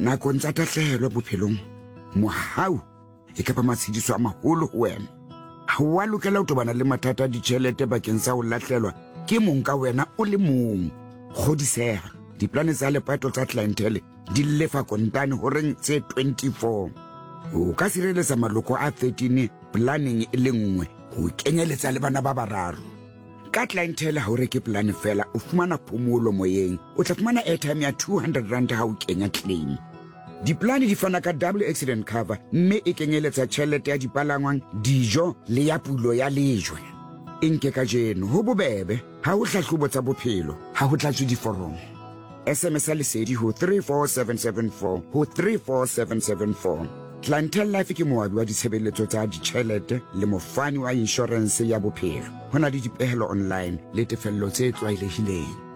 Nakong tsa tahlehelo bophelong, mohau e ka ba matshediso a maholo ho wena. Ha o a lokela ho tobana le mathata a ditjhelete bakeng sa ho lahlelwa ke mong ka wena o le mong. Kgodiseha, diplane tsa lepato tsa Clientele di lefa kontane horeng tse 24. O ka sireletsa maloko a 13 planeng e le nngwe ho kenyeletsa le bana ba bararo. Ka Clientele ha o reke polane fela, o fumana phomolo moyeng. O tla fumana airtime ya 200 rand ha o kenya claim. Diplane di fana ka double accident cover mme e kenyeletsa tjhelete ya dipalangwang, dijo le ya pulo ya lejwe. E nke kajeno, ho bobebe, ha ho hlahlobo tsa bophelo, ha ho tlatswe diforomo. SMS ya Lesedi ho 34774 ho 34774. Clientele Life ke moabi wa ditshebeletso tsa ditjhelete le mofani wa inshorense ya bophelo. Ho na le dipehelo online le tefello tse tlwaelehileng.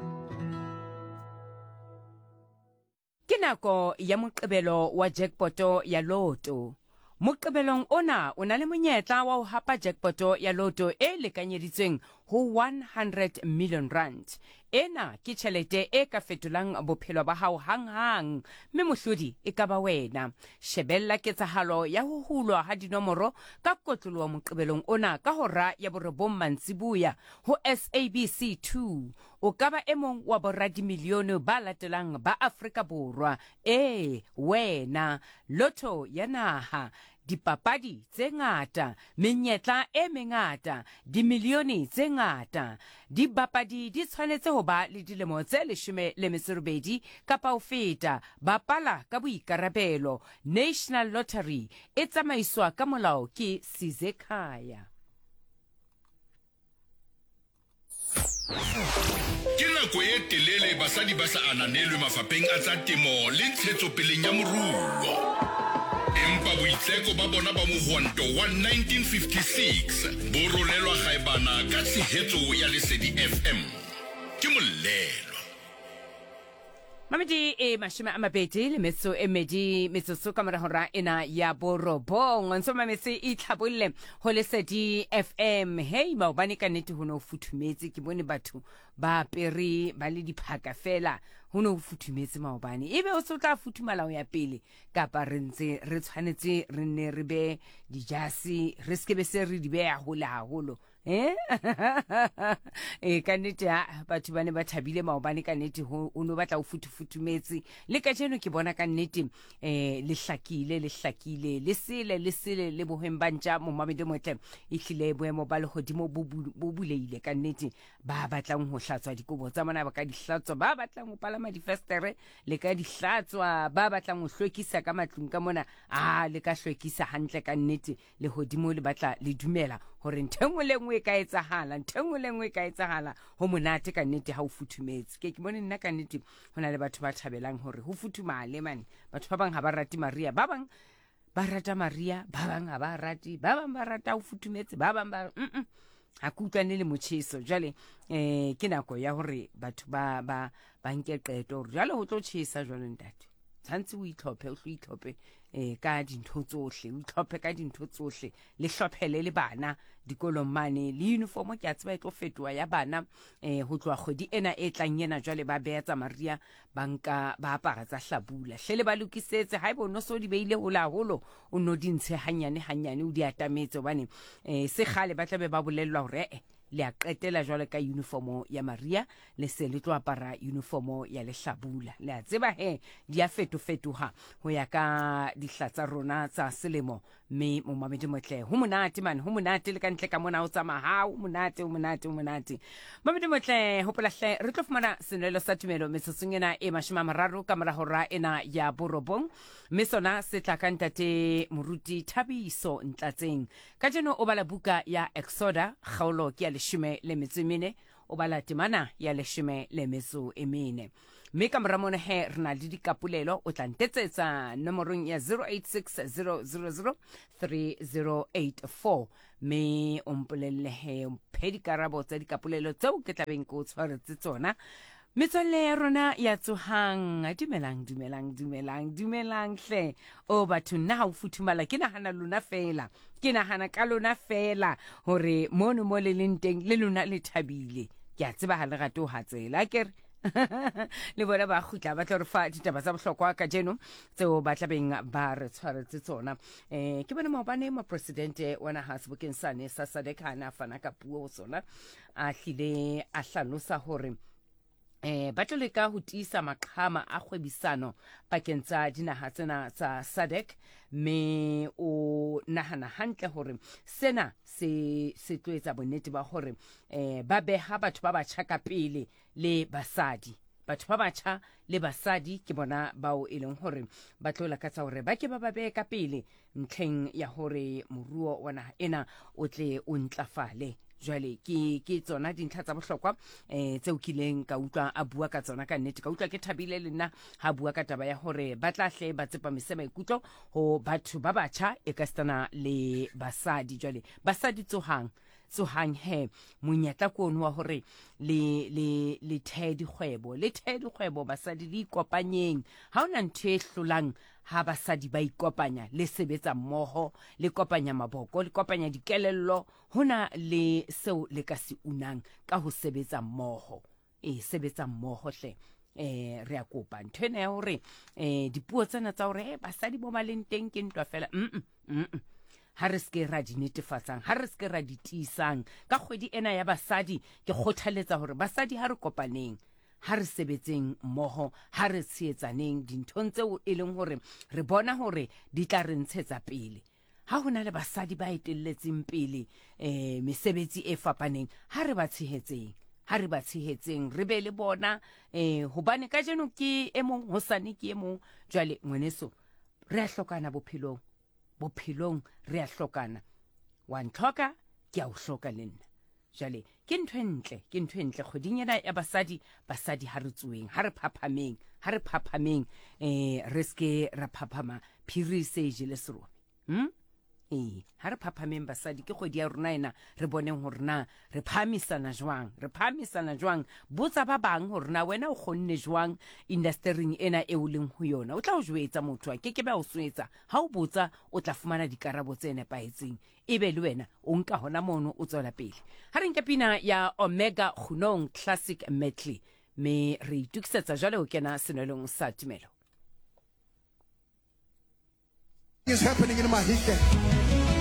Ke nako ya Moqebelo wa jackpoto ya Lotto. Moqebelong ona o na le monyetla wa ho hapa jackpoto ya Lotto e lekanyeditsweng ho 100 million rand. Ena ke tjhelete e ka fetolang bophelo ba hao hanghang, mme mohlodi e ka ba wena. Shebella ketsahalo ya ho hulwa ha dinomoro ka kotloloho Moqebelong ona ka hora ya borobong mantsiboya ho SABC 2. O ka ba e mong wa boradimilione ba latelang ba Afrika Borwa. Ee, wena! Lotto ya naha, dipapadi tse ngata, menyetla e mengata, dimilione tse ngata. Dibapadi di tshwanetse ho ba le dilemo tse 18 kapa ho feta. Bapala ka boikarabelo. National Lottery e tsamaiswa ka molao ke Sizekhaya. Ke nako ye telele basadi ba sa ananelwe mafapheng a tsa temo le ntshetsopeleng ya moruo. Empa boitseko ba bona ba mohwanto wa 1956 bo rolelwa gaebana ka tshehetso ya Lesedi FM. Ke Mollelwa. Mamedi e 20 le metso e medi metsotso ka mora hora ena ya borobong. Ntso mametse e tlhabolle ho Lesedi FM. Hei maobane ka nnete ho ne ho futhumetse, ke bone batho ba apere ba le diphaka fela, ho ne ho futhumetse maobane. Ebe o se o tla futhumala ho ya pele kapa re ntse re tshwanetse re nne re be dijase re se ke be se re di beya hole haholo. Eh? e ka nnete ha batho ba ne ba thabile maobane ka nnete ho o no batla o futhufuthumetse le kajeno ke bona ka nnete eh le hlakile le hlakile le sele le sele le bohweng ba ntja momamedi motle e hlile boemo ba lehodimo bo bo buleile ka nnete ba batlang ho hlatswa dikobo tsa bona ba ka di hlatswa ba batlang ho palama difestere le ka di hlatswa ba batlang ho hlwekisa ka matlung ka mona a le ka hlwekisa hantle ka nnete Lehodimo le batla le dumela hore ntho e nngwe le nngwe e ka etsahala, ntho e nngwe le nngwe e ka etsahala. Ho monate ka nnete ha o futhumetse. Ke ke bone nna ka nnete ho na le batho ba thabelang hore ho futhumale mane. Batho ba bang ha ba rate Maria, ba bang ba rata Maria, ba bang ha ba rate, ba bang ba rata ho futhumetse, ba bang ba mm ha ke utlwane le motjheso. Jwale eh ke nako ya hore batho ba ba ba nke qeto hore jwale ho tlo tjhesa jwale ntate. Tshwanetse o itlhophe, o hlo itlhophe eh ka dintho tsohle, o itlhophe ka dintho tsohle, le hlophele le bana dikolong mane, le uniform ke a tseba e tlo fetoha ya bana eh ho tloha kgwedi ena e tlang ena, jwale ba beha tsa Maria ba nka ba apara tsa hlabula. Hle le ba lokisetse, haeba o no so di beile hole haholo, o no di ntshe hanyane hanyane, o di atametse hobane eh se kgale ba tla be ba bolellwa hore eh Le a qetela jwale ka uniformo ya Maria, le se le tlo apara uniformo ya lehlabula. Le a tseba he, di a fetofetoha ho ya ka dihla tsa rona tsa selemo. Mme momamedi motle, ho monate man, ho monate le ka ntle ka mona o tsamaya, ha ho monate, ho monate, ho monate. Mamedi motle, hopola hle, re tlo fumana senwelo sa tumelo metsotsong ena e 30 ka mora hora ena ya borobong. Mme sona se tla ka ntate Moruti Thabiso Ntlatseng. Kajeno o bala buka ya Exoda, kgaolo ke ya 14, o bala temana ya 14. Mme ka mora mono he re na le dikapolelo, o tla ntetsetsa nomorong ya 0860003084 mme o mpolelle he, o mphe dikarabo tsa dikapolelo tseo ke tlabeng ke o tshwaretse tsona. Metswalle ya rona ya tsohang, dumelang, dumelang, dumelang, dumelang hle. O batho, nna ha o futhumala ke nahana lona fela, ke nahana ka lona fela hore mono mo le leng teng le lona le thabile. Ke a tseba ha le rate ho hatsela, akere? Le bona ba kgutla ba tlo re fa ditaba tsa bohlokwa kajeno tseo ba tlabeng ba re tshwaretse tsona. Um ke bone maobane mopresidente wa naha sebokeng sane sa SADC ha ne a fana ka puo ho sona, a hlile a hlalosa hore ba tlo leka ho tiisa maqhama a kgwebisano pakeng tsa dinaha tsena tsa SADC, mme o nahana hantle hore sena se se tlo etsa bonnete ba hore ba beha batho ba batjha ka pele le basadi. Batho ba batjha le basadi ke bona bao e leng hore ba tlo lakatsa hore ba ke ba ba behe ka pele ntlheng ya hore moruo wa naha ena o tle o ntlafale. Jwale ke ke tsona dintlha tsa bohlokwa tseo kileng ka utlwa a bua ka tsona. Ka nnete ka utlwa ke thabile le nna ha bua ka taba ya hore ba tla hle ba tsepamise maikutlo ho batho ba batjha e ka sitana le basadi. Jwale basadi tsohang, tsohang he, monyetla ke ono wa hore le le le thee dikgwebo, le thee dikgwebo basadi, le ikopanyeng. Ha hona ntho e hlolang ha basadi ba ikopanya, le sebetsa mmoho, le kopanya maboko, le kopanya dikelello, hona le seo le ka se unang ka ho sebetsa mmoho. E sebetsa mmoho hle. Re a kopa ntho ena ya hore dipuo tsena tsa hore basadi bo ba leng teng ke ntwa fela. Ha re se ra di netefatsang, ha re se ra di tiisang. Ka kgwedi ena ya basadi ke kgothaletsa hore basadi ha re kopaneng, ha re sebetseng mmoho, ha re tshehetsaneng dinthong tseo e leng hore re bona hore di tla re ntshetsa pele. Ha ho na le basadi ba etelletseng pele mesebetsi e fapaneng, ha re ba tshehetseng, ha re ba tshehetseng, re be le bona hobane kajeno ke e mong, hosane ke e mong. Jwale ngwaneso, re a hlokana bophelong, bophelong re a hlokana. Wa ntlhoka, ke a o hloka le nna. Jwale ke ntho e ntle, ke ntho e ntle kgweding ena ya basadi. Basadi ha re tsoeng, ha re phaphameng, ha re phaphameng, re seke ra phaphama phiri se e jele serobe. Ha re phaphameng basadi, ke kgwedi ya rona ena, re boneng hore na re phahamisana jwang, re phahamisana jwang. Botsa ba bang hore na wena o kgonne jwang indastering ena e o leng ho yona. O tla o jwetsa, motho a keke be a o swetsa. Ha o botsa o tla fumana dikarabo tse nepahetseng, ebe le wena o nka hona mono o tswela pele. Ha re nke pina ya Omega Kgunong Classic Medley, mme re itokisetsa jwale ho kena senwelong sa tumelo. Is happening in Mahikeng.